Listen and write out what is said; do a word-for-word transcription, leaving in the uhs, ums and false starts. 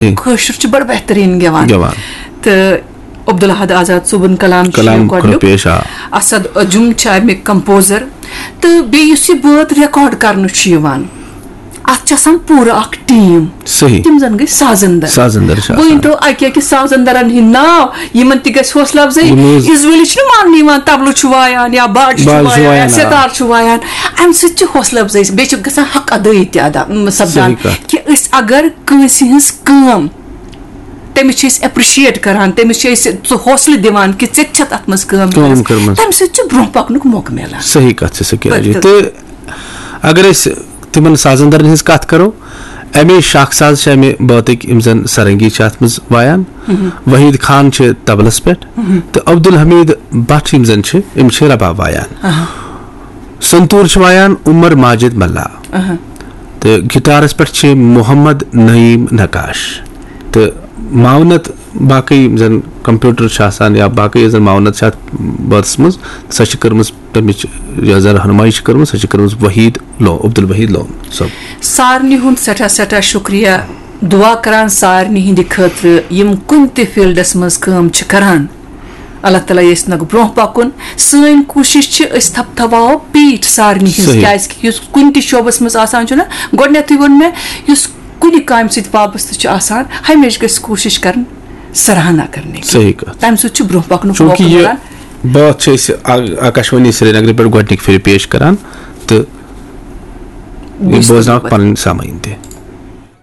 جی۔ کٲشُر چھُ بڑٕ بہتریٖن گٮ۪وان۔ گٮ۪وان۔ تہٕ عبدالحد آزاد صٲبُن کلام چھُ کلام یہِ گۄڈٕنیُک۔ کھُرپیش، آ۔ اسد عجم چھُ امیُک کمپوزر۔ تہٕ بیٚیہِ یُس یہِ بٲتھ ریکارڈ کرنہٕ چھُ یِوان، اتھ چھِ آسان پوٗرٕ اکھ ٹیٖم۔ صحیح۔ تِم زن گٔے سازندر۔ سازندر چھِ بہٕ آسان۔ ؤنۍ تو اکہِ اکہِ سازندرن ہٕنٛدۍ ناو، یِمن تہِ گژھِ حوصلہٕ افزٲیی۔ یِم حظ از وٲلِس چھُنہٕ ماننہٕ یِوان، طبلہٕ چھُ وایان یا باجہِ چھُ باجہِ چھُ وایان یا وایان، آ۔ ستار چھُ وایان، امہِ سۭتۍ چھِ حوصلہٕ افزٲیی، بیٚیہِ چھِ گژھان حق ادٲیی تہِ ادا، م، سپدان۔ صحیح کتھ۔ کہِ أسۍ اگر کٲنٛسہِ ہٕنٛز کٲم، تٔمِس چھِ أسۍ اپرِشیٹ کران، تٔمِس چھِ أسۍ سُہ حوصلہٕ دِوان کہِ ژےٚ تہِ چھَتھ اتھ منٛز کٲم کٲم کٔرمٕژ۔ کٔرمٕژ۔ تمہِ سۭتۍ چھُ برونٛہہ پکنُک موقعہٕ میلان۔ صحیح کتھ چھِ سکیا جی۔ بِلکُل۔ تہٕ اگر أسۍ تِمن سازندرن ہٕنٛز کتھ کرو، امی شاخ ساز چھِ امہِ بٲتٕکۍ یِم زن سرنگی چھِ اتھ منٛز وایان، وحید خان چھِ طبلس پٮ۪ٹھ، تہٕ عبدالحمید بٹ یِم زن چھِ، یِم چھِ رباب وایان۔ سنتور چھِ وایان عمر ماجد ملا، تہٕ گٹارس پٮ۪ٹھ چھِ محمد نعیم نقاش، تہٕ معاونت باقٕے یِم زن کمپیوٹر چھِ آسان یا باقٕے یۄس زن معاونت چھِ اتھ بٲتس منٛز، سۄ چھِ کٔرمٕژ تمِچ، یۄس زن رہنمٲیی چھِ کٔرمٕژ، سۄ چھِ کٔرمٕژ وحید لون، عبدالوحید لون صٲب۔ سارنٕے ہُنٛد سٮ۪ٹھاہ سٮ۪ٹھاہ شُکریہ۔ دُعا کران سارنٕے ہٕنٛدِ خٲطرٕ، یِم کُنہِ تہِ فیٖلڈس منٛز کٲم چھِ کران۔ اللہ تعالیٰ یژھِ نَکھ برونٛہہ پکُن۔ سٲنۍ کوٗشِش چھِ، أسۍ تھپھ تھاوو پیٖٹھ سارنٕے ہٕنٛز، صحیح۔ کیازِ کہِ یُس کُنہِ تہِ شعبس منٛز آسان چھُنہ، گۄڈٕنیتھٕے ووٚن مےٚ، یُس کُنہِ کامہِ سۭتۍ وابستہٕ چھُ آسان، ہمیشہِ گژھِ کوٗشِش کرٕنۍ سراہنا کرنٕچ۔ صحیح کتھ۔ تمہِ سۭتۍ چھُ برونٛہہ پکنُک چوٗنٛکہِ موقعہٕ یہِ میلان۔ بٲتھ چھِ أسۍ آ-، آکاشوانی سرینگرٕ پٮ۪ٹھ گۄڈٕنِکۍ پھِرِ پیش کران، تہٕ یہِ بوٗزتو بوزناوکھ بہٕ۔ پنٕنۍ سامعیٖن تہِ۔